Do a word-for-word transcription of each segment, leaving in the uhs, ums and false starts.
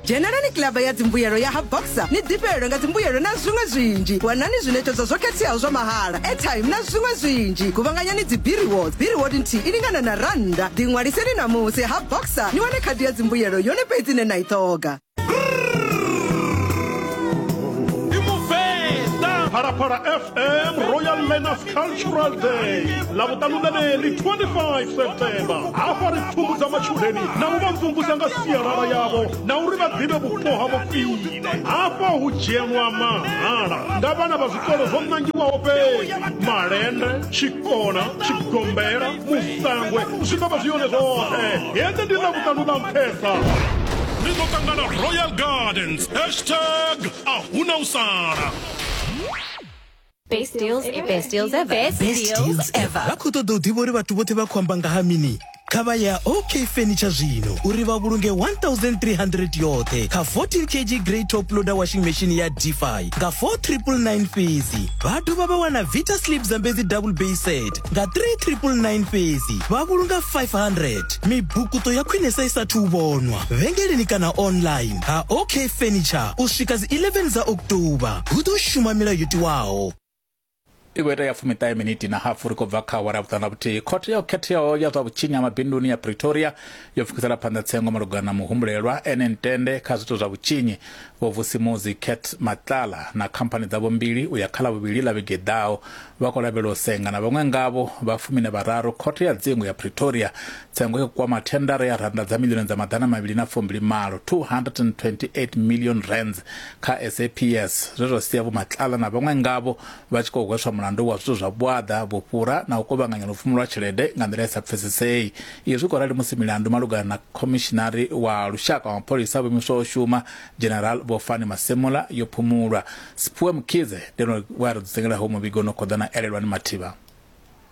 Dzhenelani kilaba ya dzimbuyelo ya ha Boxer ni ḓifhelwe nga dzimbuyelo na zwiṅwe zwinzhi. Wanani zwiṋetshedzo zwo khetheaho zwa mahala, airtime na zwiṅwe zwinzhi. Kuvhanganyani dzi B-rewards, B-reward nthihi i lingana na rannda. Ḓiṅwaliseni ṋamusi ha Boxer ni wane khadi ya dzimbuyelo yone fhedzi ine na i ṱhoga. Phalaphala F M Royal Learners Cultural Day Ḽavhuṱanu ḽeneḽi twenty-five September. Hafha ri pfumbudza matshudeni na u vha mvumvusa nga sialala yavho na uri vha ḓivhe vhupo havho khwine. Hafha hu dzhenwa mahala nga vhana vha zwikolo zwo ṋangiwaho fhedzi: Malende, Tshikona, Tshigombela, Musangwe, zwi ḓo vha zwi yone zwoṱhe. Heḽi ndi Ḽavhuṱanu ḽa nṱhesa. Ri ḓo ṱangana Royal Gardens. Hashtag a huna u sala. Best deals ever. Best deals ever. Best, Best deals ever. Vha khou ṱoḓa u ḓivha uri vhathu vhoṱhe vha khou amba nga ha mini? Kha vha ya OK Furniture zwino uri vha vhulunge one thousand three hundred yoṱhe kha fourteen kilogram grey top loader washing machine ya Defy nga four triple nine fhedzi. Vha dovha vha wana Vita Sleep Zambezi double bay set nga three triple nine fhedzi. Vha vhulunga five hundred. Mibukuto ya khwinesa i sathu u vhonwa vhengeleni kana online ha OK Furniture u swika dzi eleven dza October. Hu ḓo shuma milayo yo tiwaho. I khou ita ya fumiṱahe miniti na hafu ri khou bva kha awara ya vhuṱanu na vhuthihi. Khothe yo khetheaho ya zwa vhutshinyi ha mabinduni ya Pretoria yo pfukisela phanḓa tsengo malugana na muhumbulelwa ene Ntende kha zwithu zwa vhutshinyi Vho Vusimuzi Cat Matlala na khamphani dzavho mbili u ya kha ḽavhuvhili ḽa vhege ḓaho. Vha khou lavhelelwa u senga na vhaṅwe ngavho vha fumi na vhararu khothe ya dzingu ya Pretoria. Tsengo yo kwama thendara ya rannda dza milioni dza maḓana mavhili na fumbili malo two hundred and twenty-eight million rands kha S A P S, zwe zwa sia Vho Matlala na vhaṅwe ngavho vha tshi khou hweswa mulandu wa zwithu zwa vhuaḓa, vhufhura na u kuvhanganya lupfumo lwa tshelede nga nḓila i sa pfesesei. Izwi khou rali musi milandu malugana na khomishinari wa lushaka wa mapholisa vho imiswaho u shuma General Vho Fani Masemola yo phumulwa. Siphiwe Mkhize ndi ene we a ri dzudzanyelaho muvhigo no khoḓa na Elelwani Mathivha.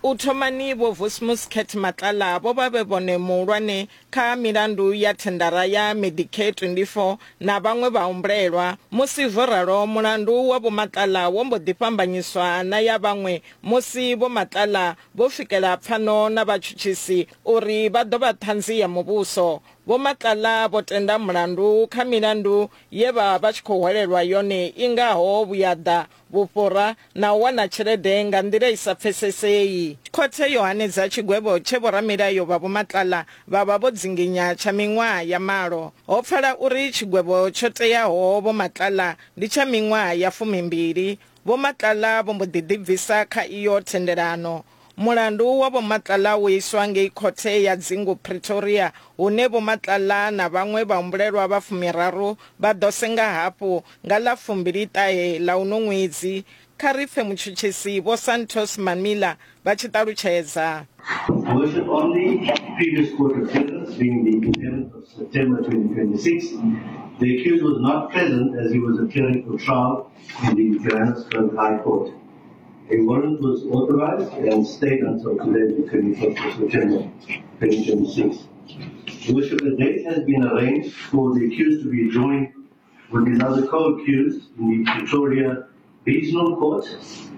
U thomani Vho Vusimuzi Cat Matlala vho vha vhe vhone muhulwane kha milandu ya thendara ya Medicare twenty-four na vhaṅwe vhahumbulelwa. Musi zwo ralo, mulandu wa Vho Matlala wo mbo ḓi fhambanyiswa na ya vhaṅwe musi Vho Matlala vho swikela pfano na vhatshutshisi uri vha ḓo vha ṱhanzi ya muvhuso. Vho Matlala vho tenda mulandu kha milandu ye vha vha tshi khou hwelelwa yone i ngaho vhuyaḓa, vhufhura na u wana tshelede nga nḓila i sa pfesesei. Khothe yo hanedza tshigwevho tshe vhoramilayo vha Vho Matlala vha vha vho dzinginya tsha miṅwaha ya malo. Ho pfala uri tshigwevho tsho teaho Vho Matlala ndi tsha miṅwaha ya fumimbili. Vho Matlala vho mbo ḓi ḓibvisa kha iyo thendelano. Mulandu wa Vho Matlala wo iswa ngei khothe ya dzingu Pretoria, hune Vho Matlala na vhaṅwe vhahumbulelwa vha fumiraru vha ḓo senga hafhu nga ḽa fumbili ṱahe ḽa uno ṅwedzi. Kha ri pfe mutshutshisi Vho Santos Mamila vha tshi ṱalutshedza. Worship, on the previous court appearance, being the eleventh of September twenty twenty-six, the accused was not present as he was appearing for trial in the Johannesburg High Court. A warrant was authorized and stayed until today, the twenty-fifth of September twenty twenty-six. Worship, a date has been arranged for the accused to be joined with his other co-accused in the Pretoria Regional Court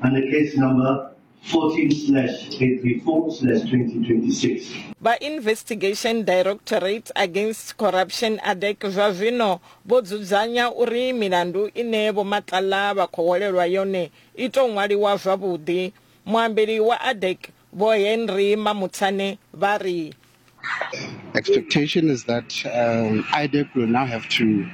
under case number fourteen slash eight three four slash twenty twenty-six. Vha Investigation Directorate Against Corruption A D E C zwa zwino vho dzudzanya uri milandu ine Vho Matlala vha khou hwelelwa yone i tou ṅwaliwa zwavhuḓi. Muambeli wa A D E C Vho Henry Mamuthane vha ri Expectation is that um, I D E C will now have to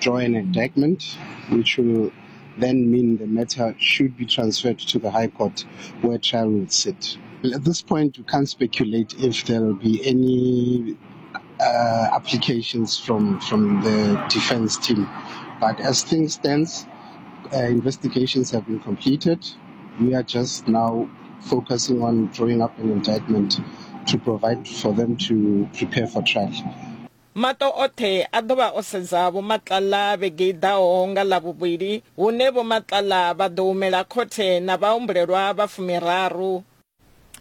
draw an indictment, which will then mean the matter should be transferred to the High Court where trial will sit. At this point, we can't speculate if there will be any uh, applications from, from the defense team. But as things stand, uh, investigations have been completed. We are just now focusing on drawing up an indictment to provide for them to prepare for trial. Mato othe a ḓo vha o sedza Vho Matlala vhege i ḓaho nga Ḽavhuvhili, hune Vho Matlala vha ḓo humela khothe na vhahumbulelwa vha fumiraru.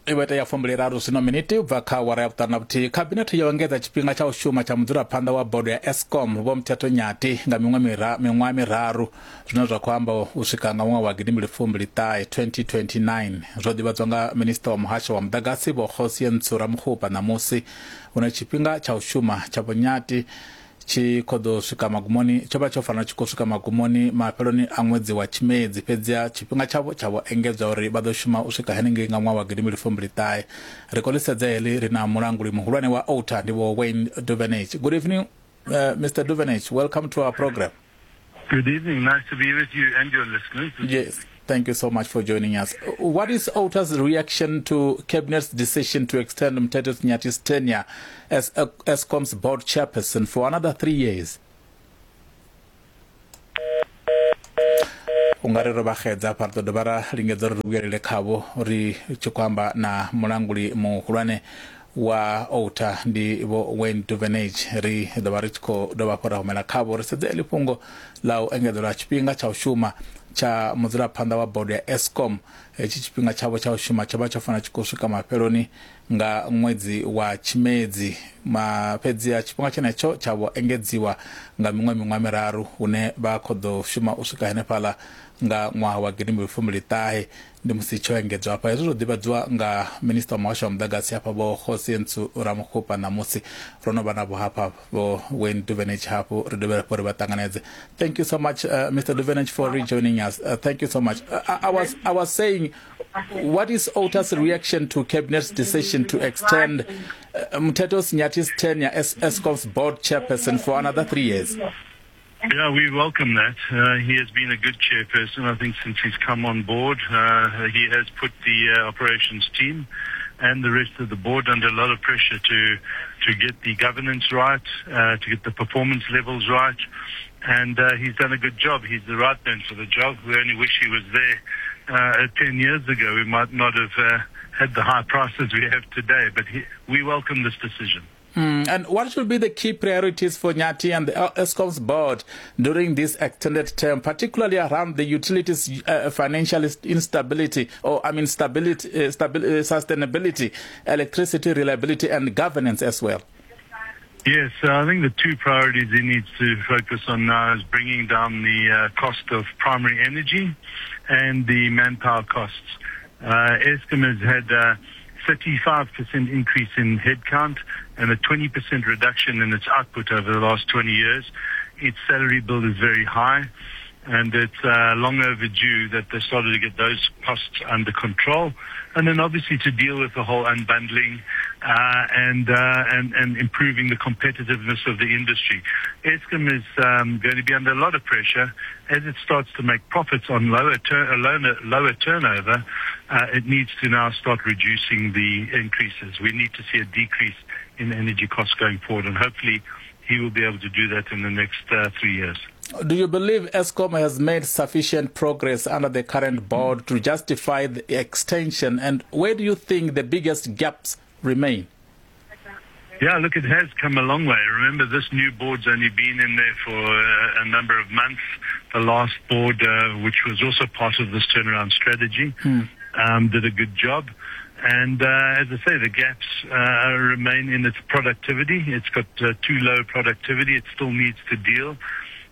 I vho ita ya fumbili raru zwino miniti u bva kha awara ya vhuṱanu na vhuthihi. Khabinethe yo engedza tshifhinga tsha u shuma tsha mudzulaphanḓa wa bodo ya Eskom Vho Mthetho Nyathi nga miṅwe mira miṅwaha miraru, zwine zwa khou amba u swika nga ṅwaha wa gidimbili fumbili ṱahe twenty twenty-nine. Zwo ḓivhadzwa nga minisiṱa wa muhasho wa muḓagasi Vho Kgosientsho Ramokgopa ṋamusi, hune tshifhinga tsha u shuma tsha Vho Nyathi tshi khou ḓo swika magumoni, tsho vha tsho fanela tshi khou swika magumoni mafheloni a ṅwedzi wa Tshimedzi, fhedziha tshifhinga tshavho tsha vho engedzwa uri vha ḓo shuma u swika henengei nga ṅwaha wa gidimbili fumbili ṱahe. Ri khou ḽi sedza heḽi ri na mulanguli muhulwane wa O T A, ndi Vho Wayne Duvenage. Good evening, uh, Mister Duvenage. Welcome to our program. Good evening. Nice to be with you and your listeners. Yes. Thank you so much for joining us. What is O T A's reaction to Cabinet's decision to extend Mteto Nyathi's tenure as Eskom's board chairperson for another three years? Ungari ro vha xedza hafha, ri ḓo dovha ra lingedza uri ri vhuyelele khavho ri tshi khou amba na mulanguli muhulwane wa O T A, ndi Vho Wayne Duvenage. Ri ḓo vha ri tshi khou dovha hafhu ra humela khavho ri sedze heḽi fhungo ḽa u engedzelwa tshifhinga tsha u shuma tsha mudzulaphanḓa wa bodo ya Eskom. Hetshi tshifhinga tshavho tsha u shuma tsho vha tsho fanela tshi khou swika mafheloni nga ṅwedzi wa Tshimedzi, ma fhedziha tshifhinga tshenetsho tsha vho engedziwa nga miṅwe miṅwaha miraru, hune vha khou ḓo shuma u swika henefhaḽa nga ṅwaha wa gidimbili fumbili ṱahe, ndi musi tsho engedzwa hafha. Hezwo zwo ḓivhadziwa nga minista wa muhasho wa muḓagasi hafha, Vho Kgosientsho Ramokgopa. Ṋamusi ro no vha navho hafha Vho Wayne Duvenage hafhu, ri dovhe hafhu ri vha ṱanganedze. Thank you so much, uh, Mister Duvenage, for rejoining us. uh, thank you so much. uh, I, I was I was saying, what is O T A's reaction to Cabinet's decision to extend uh, Mteto Nyathi's tenure as Eskom's board chairperson for another three years? Yeah, we welcome that. Uh, he has been a good chairperson, I think, since he's come on board. Uh, he has put the uh, operations team and the rest of the board under a lot of pressure to to get the governance right, uh, to get the performance levels right, and uh, he's done a good job. He's the right man for the job. We only wish he was there uh, ten years ago. We might not have uh, had the high prices we have today, but he, we welcome this decision. Mm, and what should be the key priorities for Nyathi and the Eskom's board during this extended term, particularly around the utilities uh, financial instability, or I mean stability, uh, stabi- uh, sustainability, electricity reliability, and governance as well? Yes, uh, I think the two priorities he needs to focus on now is bringing down the uh, cost of primary energy and the manpower costs. Uh, Eskom has had a thirty-five percent increase in headcount and a twenty percent reduction in its output over the last twenty years. Its salary bill is very high, and it's uh, long overdue that they started to get those costs under control. And then obviously to deal with the whole unbundling uh, and, uh, and, and improving the competitiveness of the industry. Eskom is um, going to be under a lot of pressure as it starts to make profits on lower, tur- uh, lower, lower turnover. Uh, it needs to now start reducing the increases. We need to see a decrease in energy costs going forward, and hopefully he will be able to do that in the next uh, three years. Do you believe Eskom has made sufficient progress under the current board to justify the extension? And where do you think the biggest gaps remain? Yeah, look, it has come a long way. Remember, this new board's only been in there for uh, a number of months. The last board, uh, which was also part of this turnaround strategy, hmm. um, did a good job. And uh, as I say, the gaps uh, remain in its productivity. It's got uh, too low productivity. It still needs to deal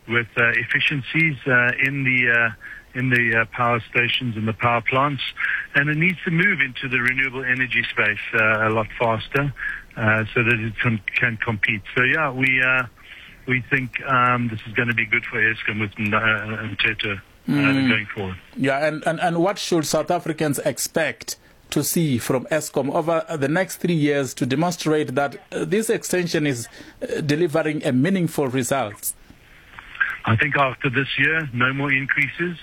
with uh, efficiencies uh, in the uh, in the uh, power stations and the power plants, and it needs to move into the renewable energy space uh, a lot faster uh, so that it can, can compete. So yeah, we uh, we think um, this is going to be good for Eskom with uh, Mteto uh, mm. going forward. Yeah, and, and, and what should South Africans expect to see from Eskom over the next three years to demonstrate that this extension is delivering a meaningful result? I think after this year, no more increases.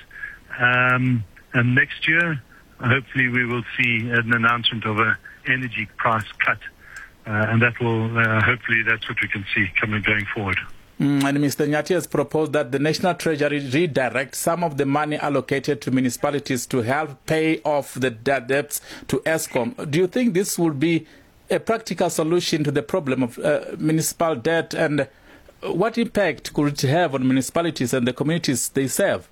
Um, and next year, hopefully we will see an announcement of an energy price cut. Uh, and that will, uh, hopefully that's what we can see coming going forward. Mm, and Mister Nyathi has proposed that the National Treasury redirect some of the money allocated to municipalities to help pay off the debts to Eskom. Do you think this will be a practical solution to the problem of uh, municipal debt, and what impact could it have on municipalities and the communities they serve?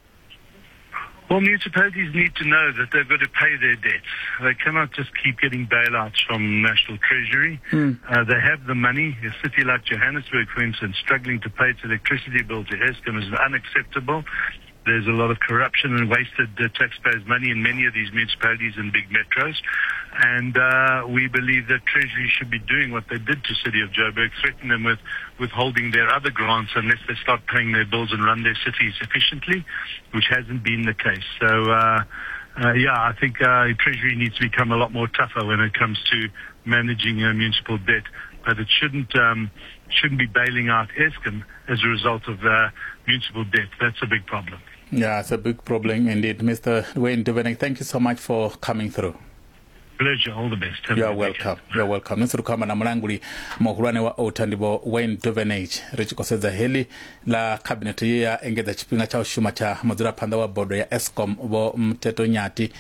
Well, municipalities need to know that they've got to pay their debts. They cannot just keep getting bailouts from National Treasury. Mm. Uh, they have the money. A city like Johannesburg, for instance, struggling to pay its electricity bill to Eskom is unacceptable. There's a lot of corruption and wasted uh, taxpayers' money in many of these municipalities and big metros. And uh, we believe that Treasury should be doing what they did to City of Joburg, threaten them with withholding their other grants unless they start paying their bills and run their cities efficiently, which hasn't been the case. So, uh, uh, yeah, I think uh, Treasury needs to become a lot more tougher when it comes to managing uh, municipal debt, but it shouldn't um, shouldn't be bailing out Eskom as a result of uh, municipal debt. That's a big problem. Yeah, it's a big problem indeed. Mister Wayne Duvenage, thank you so much for coming through. Pleasure, all the best. Have You are welcome. You are welcome. Nisi ri khou amba na mulanguli muhulwane wa O T A ndi Vho Wayne Duvenage ri tshi khou sedza heḽi ḽa khabinethe ye ya engedza tshifhinga tsha u shuma tsha mudzulaphanḓa wa bodo ya Eskom Vho Mteto Nyati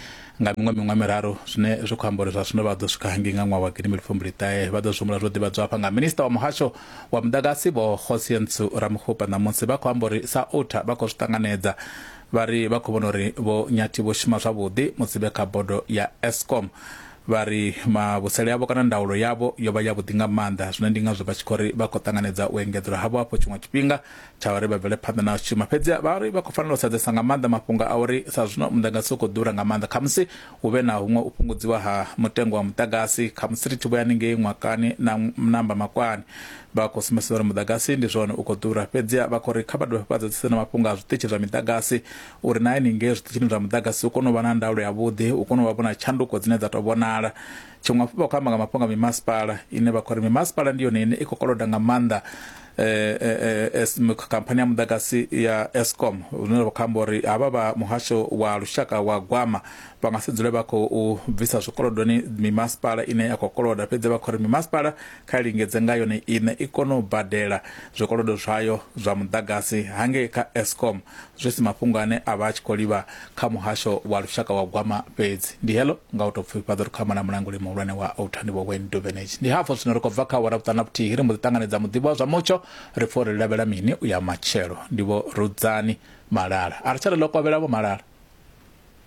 nga miṅwe miṅwe miraru, zwine zwi khou amba uri zwa zwino vha ḓo swika hangei nga ṅwaha wa gidi mbili fumbili ṱahe. Vha ḓo zwi humbula zwo ḓivhadzwa hafha nga minista wa muhasho wa muḓagasi Vho Kgosientsho Ramokgopa ṋamusi. Vha khou amba uri sa O T A vha khou zwi ṱanganedza, vha ri vha khou vhona uri Vho Nyati vho shuma zwavhuḓi musi vhe kha bodo ya Eskom. Vha ri mavhusele yavho kana ndaulo yavho yo vha yavhuḓi nga maanḓa, zwine ndi ngazwo vha tshi khou ri vha khou ṱanganedza u engedzelwa havho hafho tshiṅwe tshifhinga tsha uri vha bvele phanḓa na u shuma. Fhedzi vha ri vha khou fanela u sedzesa nga maanḓa mafhungo a uri sa zwino muḓagasi u khou ḓura nga maanḓa, khamusi hu vhe na huṅwe u fhungudziwa ha mutengo wa muḓagasi, khamusi ri tshi vhuya haningei ṅwakani na namba makwani. Vha khou sumbedzisa uri muḓagasi ndi zwone u khou ḓura, fhedzi vha khou ri kha vha dovhe vha dzedzise na mafhungo a zwiṱitshi zwa miḓagasi uri na haningei zwiṱitshini zwa muḓagasi u kone u vha na ndaulo yavhuḓi, u kone u vha vhona tshanduko dzine dza tou vhonala. Tshiṅwe hafhu vha khou amba nga mafhungo a mimasipala ine vha khou ri mimasipala ndi yone ine i khou koloda nga maanḓa eh, eh, khamphani ya muḓagasi ya Eskom, zwine vha khou amba uri havha vha muhasho wa lushaka wa gwama vha nga si dzule vha khou bvisa zwikolodoni mimasipala ine ya khou koloda, fhedzi vha khou ri mimasipala kha i lingedze nga yone ine i kone u badela zwikolodo zwayo zwa muḓagasi hangei kha Eskom, zwi si mafhungo ane a vha a tshi khou livha kha muhasho wa lushaka wa gwama fhedzi. Ndi helo nga u tou pfufhifhadza ri khou amba na mulanguli muhulwane wa O T A ndi Vho Wayne Duvenage. Ndi hafho zwino ri khou bva kha awara vhuṱanu na vhuthihi ri mbo ḓi ṱanganedza muḓivhi wa zwa mutsho ri pfha uri lavhela mini u ya matshelo. Ndi Vho Rudzani Malala. A ri tsha ri ḽo kovhela Vho Malala.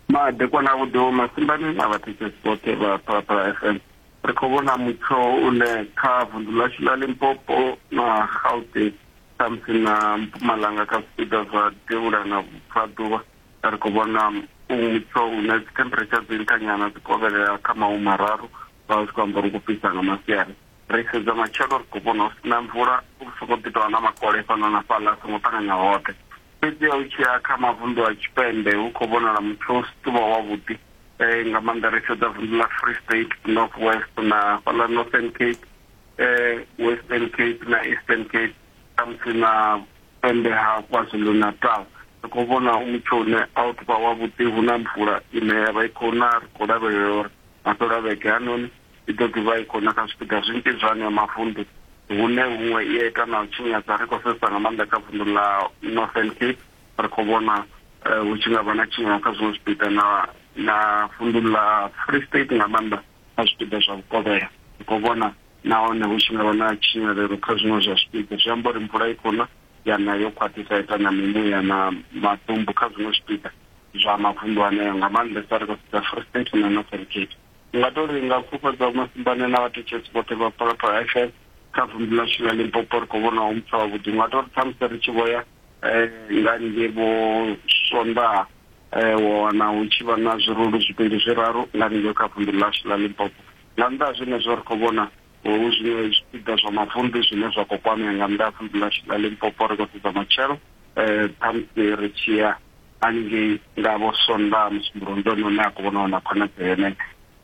Madekwana avhuḓi Vho Masimbani na vhathetshelesi vhoṱhe vha Phalaphala F M. Ri khou vhona mutsho une kha vunḓu ḽashu ḽa Limpopo na Gauteng khamusi na Mpumalanga kha zwipiḓa zwa devhula na vhubvaḓuvha, ri khou vhona u mutsho une dzi temperature dzi nṱha nyana dzi kovhelela kha mahumi mararu, vha zwi khou amba uri u khou fhisa nga masiari. Ri sedza matshelo ri khou vhona hu sina mvula, u sokou ḓi tovha na makole fhano na fhaḽa a songo ṱanganya hoṱhe. Fhedzi u tshi ya kha mavunḓu a tshipembe hu khou vhonala mutsho u si tovha wavhuḓi, nga maanḓa ri sedza vunḓu ḽa Free State, North West na fhaḽa Northern Cape, Western Cape na Eastern Cape, khamusi na pembe ha KwaZulu Natal. Ri khou vhona mutsho une a u tovha wavhuḓi, hu na mvula ine ya vha i khou na, ri khou lavhelela uri mafhelo a vhege hanoni i ḓo ḓivha i khou na kha zwipiḓa zwinzhi zwa haneyo mavunḓu, hune huṅwe i a ita na u tshinyadza. Ri khou sedzesa nga maanḓa kha vunḓu ḽa Northern Cape, ri khou vhona hu tshi nga vha na tshinyalo kha zwiṅwe zwipiḓa na na vunḓu ḽa Free State nga maanḓa kha zwipiḓa zwa vhukovhela. Ri khou vhona nahone hu tshi nga vha na tshinyalelo kha zwiṅwe zwa zwipiḓa, zwi amba uri mvula i khou na ya na yo khwaṱhisa ita na mimuya na maḓumbu kha zwiṅwe zwipiḓa zwa mavunḓu aneo, nga maanḓesa ri khou sedza Free State na Northern Cape. Nga to ri nga pfufhadza Masimbane na vhathetshelesi vhoṱhe vha Phalaphala F M kha vunḓu ḽashu ḽa Limpopo ri khou vhona hu mutsho wavhuḓi. Nga to ri ṱhamusi ri tshi vhoya nga ngei vho Sondaha wa wana hu tshi vha na zwirulu zwivhili zwiraru nga ngei kha vunḓu ḽashu ḽa Limpopo. Nga nnḓa ha zwenezwo ri khou vhona hu zwiṅwe zwipiḓa zwa mavunḓu zwine zwa khou kwamea nga nnḓa ha vunḓu ḽashu ḽa Limpopo. Ri khou sedza matshelo ṱhamusi ri tshi ya haningei nga vho Sondaha Musumbulowo ndi hone hune a khou vhona na khonadzeo yeneyo.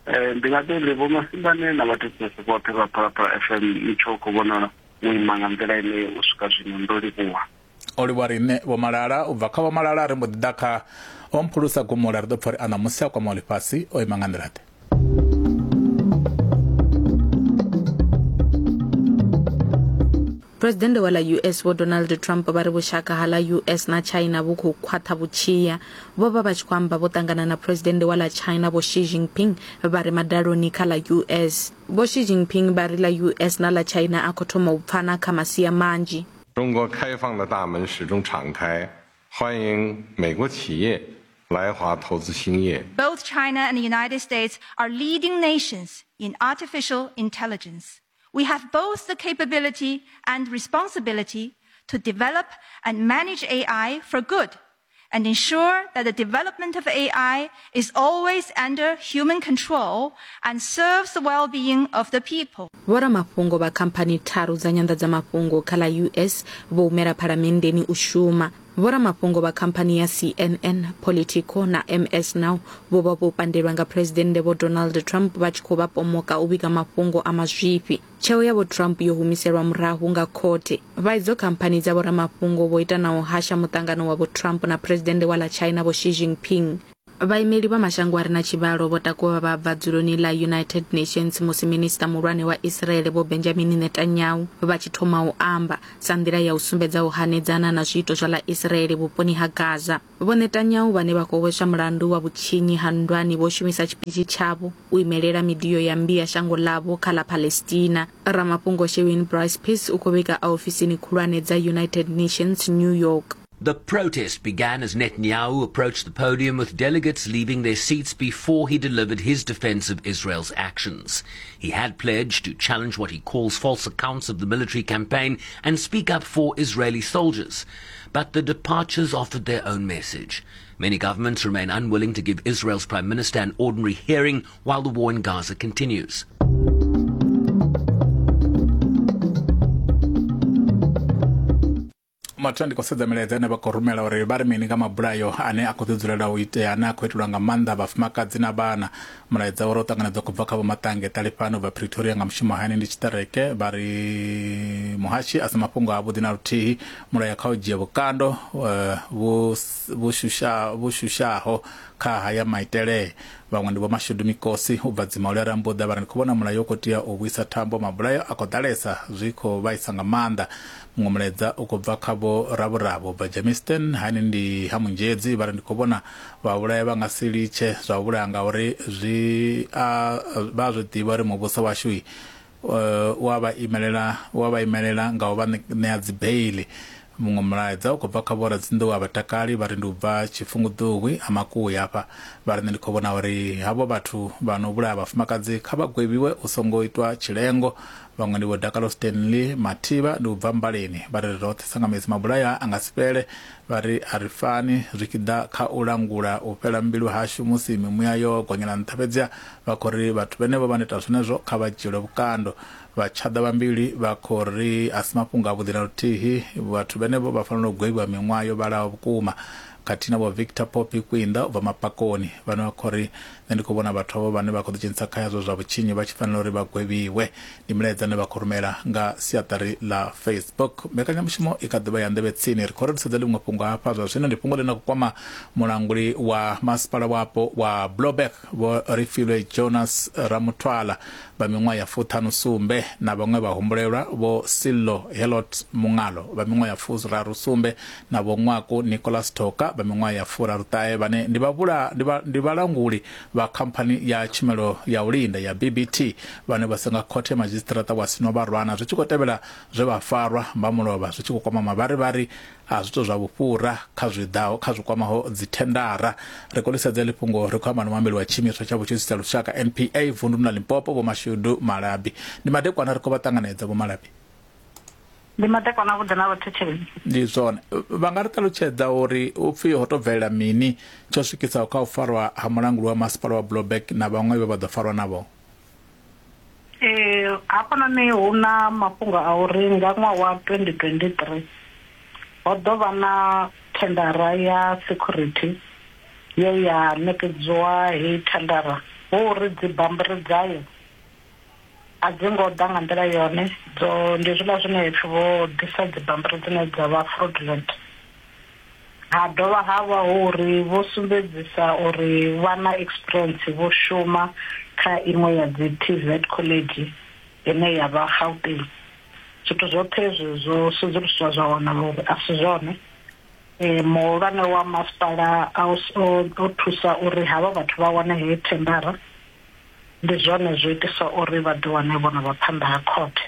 Ndi nga tou ri Vho Masimbane na vhathetshelesi vhoṱhe vha Phalaphala F M mutsho u khou vhonala wo ima nga nḓila ine u swika zwino. Ndo livhuwa. O livhuwa riṋe Vho Malala. U bva kha Vho Malala ri mbo ḓi ḓa kha Omphulusa Gumula, ri ḓo pfha uri a ṋamusi a kwamaho ḽifhasi o ima nga nḓila ḓe. Presidennde wa ḽa U S Vho Donald Trump vha ri vhushaka ha ḽa U S na China vhu khou khwaṱha vhutshiya. Vho vha vha tshi khou amba vho ṱangana na Presidennde wa ḽa China Vho Xi Jinping vha re madaloni kha ḽa U S. Vho Xi Jinping vha ri ḽa U S na ḽa China a khou thoma u pfana kha masia manzhi. 中国开放的大门始终敞开，欢迎美国企业来华投资兴业。 Both China and the United States are leading nations in artificial intelligence. We have both the capability and responsibility to develop and manage A I for good and ensure that the development of A I is always under human control and serves the well-being of the people. Vhoramafhungo vha khamphani tharu dza nyanḓadzamafhungo kha ḽa U S vho humela phalamenndeni u shuma. Vhoramafhungo vha khamphani ya C N N, Politico na M S Now vho vha vho pandelwa nga Presidennde Vho Donald Trump vha tshi khou vha pomoka u vhiga mafhungo a mazwifhi. Tsheo ya Vho Trump yo humiselwa murahu nga khothe. Vha idzo khamphani dza vhoramafhungo vho ita na u hasha muṱangano wa Vho Trump na Presidennde wa ḽa China Vho Xi Jinping. Vhaimeli vha mashango a re na tshivhalo vho takuwa vha bva dzuloni ḽa United Nations musi minista muhulwane wa Israel Vho Benjamin Netanyahu vha tshi thoma u amba sa nḓila ya u sumbedza u hanedzana na zwiito zwa ḽa Israel vhuponi ha Gaza. Vho Netanyahu vhane vha khou hweswa mulandu wa vhutshinyi ha nndwani vho shumisa tshipitshi tshavho u imelela midio ya mmbi ya shango ḽavho kha ḽa Palestina. Ramafhungo Shewin Bryce Peace u khou vhiga ofisini khulwane dza United Nations New York. The protest began as Netanyahu approached the podium with delegates leaving their seats before he delivered his defense of Israel's actions. He had pledged to challenge what he calls false accounts of the military campaign and speak up for Israeli soldiers. But the departures offered their own message. Many governments remain unwilling to give Israel's prime minister an ordinary hearing while the war in Gaza continues. Mathu ndi khou sedza milaedza ine vha khou rumela uri vha ri mini nga mabulayo ane a khou ḓi dzulela u itea ane a khou itelwa nga maanḓa vhafumakadzi na vhana. Mulaedza uri u ṱanganedzwa khou bva kha Vho Maṱange Ṱalifhano bva Pretoria nga mushumo hani ndi tshiṱereke vha ri muhashi a si mafhungo avhuḓi na luthihi, mulayo kha u dzhia vhukando vhu shusha vhu shushaho kha haya maitele. Vhaṅwe ndi Vho Mashudu Mikosi u bva Dzimauli Rambuḓa vha ri ndi khou vhona mulayo u khou tea u vhuisa thambo, mabulayo a khou ḓalesa zwi khou vhaisa nga maanḓa. Muṅwe mulaedza u khou bva kha Vho Ravhurabo bva Germiston hani ndi ha Munzhedzi vha ri ndi khou vhona vhavhulaya vha nga si litshe zwa u vhulaya ngauri zwi a vha zwi ḓivha uri muvhuso washu wa vha imelela wa vha imelela nga u vha ṋea dzi beili. Muṅwe mulaedza u khou bva kha Vho Radzinḓou a Vhatakali vha ri ndi u bva Tshifunguḓuwi a Makuya hafha vha ri nṋe ndi khou vhona uri havho vhathu vha no vhulaya vhafumakadzi kha vha gwevhiwe u songo itwa tshilengo. Vhaṅwe ndi Vho Dakalo Stanley Mathivha ndi u bva Mbaleni vha ri roṱhe sangamedzi mabulaya a nga si fhele, vha ri a ri fani zwi tshi ḓa kha u langula u fhela mbilu hashu musi mimuya yo gonyela nṱha, fhedziha vha khou ri vhathu vhenevho vha no ita zwenezwo kha vha dzhielwe vhukando. Vha tshaḓa vhambili vha khou ri a si mafhungo avhuḓi na luthihi, vhathu vhenevho vha fanela u gwevhiwa miṅwaha yo vhalaho vhukuma. Khathihi na Vho Victor Poppy Kwinda u bva Mapakoni vhane vha khou ri nṋe ndi khou vhona vhathu avho vhane vha khou ḓidzhenisa kha yazwo zwa vhutshinyi vha tshi fanela uri vha gwevhiwe. Ndi milaedza ine vha khou rumela nga siaṱari ḽa Facebook. Mbekanyamushumo i kha ḓivha ya nḓevhe tsini, ri khou ri sedza ḽiṅwe fhungo hafha zwa zwino, ndi fhungo ḽine khou kwama mulanguli wa masipala wapo wa Blouberg Vho Refilwe Jonas Ramuthwala vha miṅwaha ya fuṱhanu sumbe na vhaṅwe vhahumbulelwa Vho Sillo Helot Mungalo vha miṅwaha ya furaru sumbe na Vho Ṅwaku Nicholas Thoka vha miṅwaha ya furaru ṱahe vhane ndi vhavhula ndi vhalanguli vha khamphani ya tshumelo ya u linda ya B B T vhane vha senga khothe madzhisiṱiraṱa wa Sinobarwana zwi tshi khou tevhela zwe vha farwa mba mulovha zwi tshi khou kwama mavharivhari a zwithu zwa vhufhura kha zwi ḓaho kha zwi kwamaho dzithendara. Ri khou lisedza ḽi fhungo ri khou amba na muambeli wa tshiimiswa tsha vhutshutshisi tsha lushaka N P A vunduni ḽa Limpopo Vho Mashudu Malabi. Ndi madekwana ri khou vha ṱanganedza Vho Malabi. Ndi madekwana vhuḓi na vhathetshelesi. Ndi zwone, vha nga ri ṱalutshedza uri u pfhi ho to bvelela mini tsho swikisaho kha u farwa ha mulanguli wa masipala wa Blouberg na vhaṅwe vhe vha ḓo farwa navho? Ee, hafhanoni hu na mafhungo a uri nga ṅwaha wa twenty twenty-three ho ḓo vha na thendara ya security ye ya ṋekedziwa heyi thendara, hu uri dzi bammbiri dzayo a dzi ngo ḓa nga nḓila yone, dzo ndi zwiḽa zwine pfhi vho ḓisa dzi bammbiri dzine dza vha fraudulent. Ha dovha ha vha hu uri vho sumbedzisa uri vha na experience, vho shuma kha iṅwe ya dzi T V E T college ine ya vha Gauteng. Zwithu zwoṱhe hezwi zwo sedzuluswa zwa wana uri a si zwone. E, muhulwane wa masipala o thusa uri havha vhathu vha wane heyi thendara, ndi zwone zwo itisa uri vha ḓi wane vhona vha phanḓa ha khothe.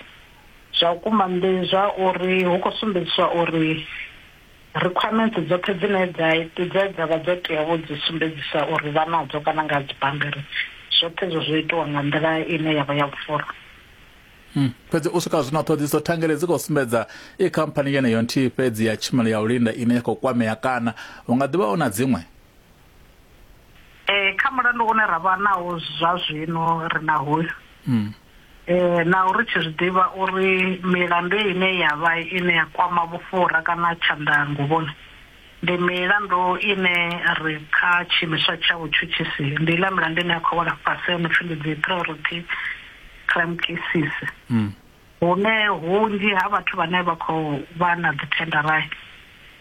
Zwa vhukuma ndi zwa uri hu khou sumbedziswa uri requirements dzoṱhe dzine dza dze dza vha dzo tea vho dzi sumbedzisa uri vha nadzo kana nga dzi bammbiri, zwoṱhe zwo zwo itiwa nga nḓila ine ya vha ya vhufhura. Mm. Fhedzi u swika zwino ṱhoḓisiso thangele dzi khou sumbedza i khamphani yeneyo nthihi fhedzi ya tshumelo ya u linda ine ya khou kwamea, kana hu nga ḓivha na dziṅwe? Eh kha mulandu une ra vha nawo zwa zwino ri na hoyu. Mm. Eh na uri tshi zwi ḓivha uri milandu ine ya vha ine ya kwama vhufhura kana tshanḓanguvhoni ndi milandu ine ri kha tshiimiswa tsha vhutshutshisi, ndi iḽa milandu ine ya khou wela fhasi no pfi ndi dzi priority crime cases. Mm. Hune hunzhi ha vhathu vhane vha khou vha na dzi thendara,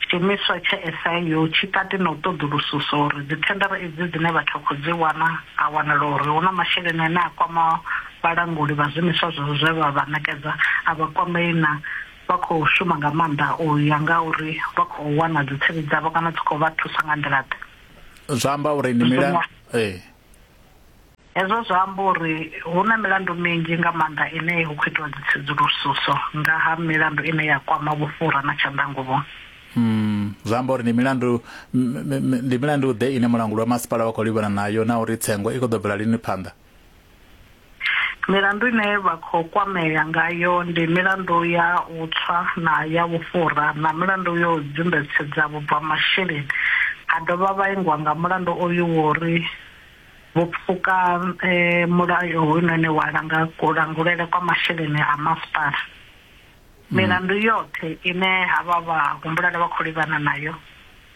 tshiimiswa tsha S I U tshi kati na u ṱoḓulususa uri dzi thendara idzi dzine vhathu vha khou dzi wana a wanala uri hu na masheleni ane a kwama vhalanguli vha zwiimiswa zwezwo zwe vha vha ṋekedza, a vha kwamei na vha khou shuma nga maanḓa u ya nga uri vha khou wana dzi tsevhi dzavho kana dzi khou vha thusa nga nḓila ḓe. Zwa amba uri ndi milandu eh hezwo zwa amba uri hu na milandu minzhi nga maanḓa ine hu khou itiwa dzi tsedzuluso nga ha milandu ine ya kwama vhufhura na tshanḓanguvhoni. Mm, zwa amba uri ndi milandu ndi milandu ḓe ine mulanguli wa masipala wa khou livhana nayo, na uri tsengo i khou ḓo bvela lini phanḓa? Milandu ine vha khou kwamea ngayo ndi milandu ya u tswa na ya vhufhura na milandu yo dzumbetshedza vhubva masheleni. A dovha vha ingwa nga mulandu oyu wo uri vho pfuka eh, mulayo hoyunoni wa langa kulangulele kwa masheleni a masipala. Milandu yoṱhe ine havha vha humbulele vha khou livhana nayo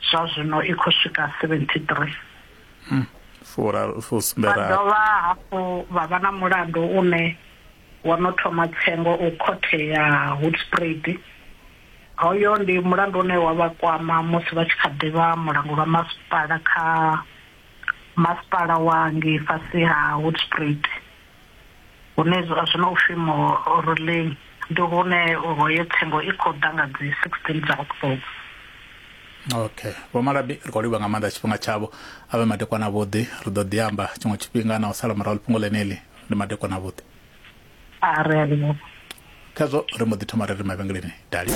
zwa zwino i khou swika seventy-three. Mm. Fura fusumbera. Vha dovha hafhu vha vha na mulandu une wa no thoma tsengo u khothe ya Hoedspruit. Hoyo ndi mulandu une wa vha kwama musi vha tshi kha ḓivha mulanguli wa masipala kha masipala wa ngei fhasi ha Hoedspruit, hune zwa zwino u pfi Moruleng, ndi hune hoyo tsengo i khou ḓa nga dzi sixteen dza October. Okay, Vho Malabi ri khou livha nga maanḓa tshifhinga tshavho, a vhe madekwana avhuḓi, ri ḓo ḓi amba tshiṅwe tshifhinga na u sala murahu fhungo ḽeneḽi. Ndi madekwana avhuḓi. A ri a livhuwa. Khazwo ri mbo ḓi thoma ri ri mavhengeleni dali.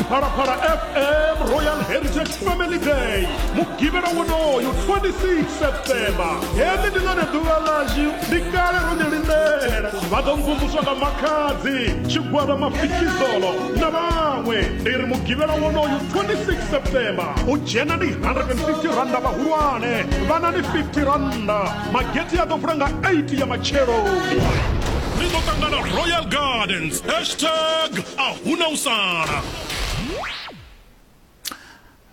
Phalaphala F M Royal Heritage Family Day mugivhela wonoyu twenty-six September. Heḽi ndi ḽone ḓuvha ḽashu, ndi kale ro ḽi lindela. Vha ḓo mvumvuswa nga Makhadzi, Tshigwada Mafikizolo na vhaṅwe. Ndi ri mugivhela wonoyu twenty-six September u dzhena ndi one hundred and fifty randa vhahulwane, vhana ndi fifty randa. Magethe a ḓo vula nga eight ya matsheloni. Ri ḓo ṱangana Royal Gardens, hashtag a huna u sala.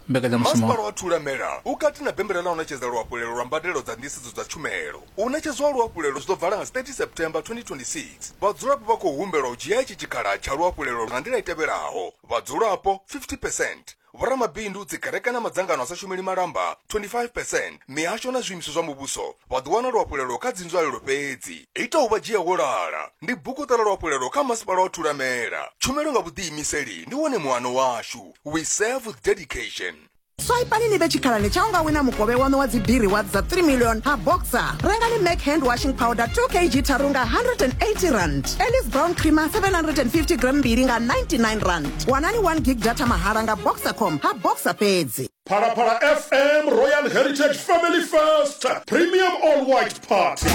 Mbekanyamushumo Masipala wa Thulamela u kati na bembela ḽa u ṋetshedza luhafhulelo lwa mbadelo dza nḓisedzo dza tshumelo. U ṋetshedzwa luhafhulelo zwi ḓo vala nga thirty September twenty twenty-six. Vhadzulapo vha khou humbelwa u dzhia itshi tshikhala tsha luhafhulelo nga nḓila i tevhelaho: vhadzulapo fifty percent, vhoramabindu, dzikereke na madzangano a sa shumeli malamba twenty-five percent, mihasho na zwiimiswa zwa muvhuso vha ḓo wana luhafhulelo kha dzinzwalelo fhedzi. Ita u vha dzhia wo lala ndi bukuṱa ḽa luhafhulelo kha masipala wa Thulamela. Tshumelo nga vhuḓiimiseli ndi wone muano washu. We serve with dedication. Swipani ni vhe tshikhalani tsha unga wina mukovhe waṋu wa dzi B-rewards dza three million ha Boxer. Rengani Mac hand washing powder two kilograms tharu nga one hundred and eighty rand. Ellis brown creamer seven hundred and fifty gram mbili nga ninety-nine rand. Wanani one gig data mahala nga Boxercom ha Boxer fhedzi. Phalaphala F M Royal Heritage Family First Premium All White Party.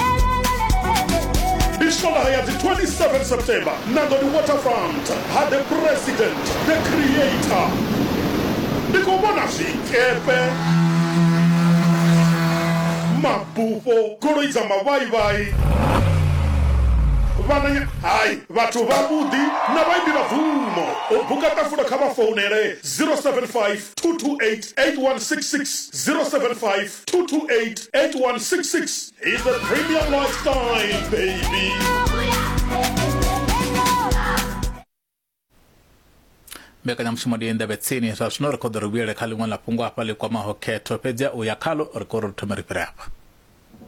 Ndi Swondaha ya dzi twenty-seven September Nandoni Waterfront ha the President, the Creator. Ndi khou vhona zwikepe, mabufho, goloi dza mavhaivhai, vhananya hai vhathu vhavhuḓi na vhaimbi vha bvumo. U buka ṱafula kha vha founele zero seven five two two eight eight one six six, zero seven five two two eight eight one six six. Is the premium lifestyle, baby. Mbekanyamushumo ndi ndavhe tsini zwa zwino ri khou ḓo ri vhuyele kha ḽiṅwe ḽa fhungo hafha ḽi kwamaho khetho, fhedzi u ya khalo ri khou ri thome ri fhire hafha.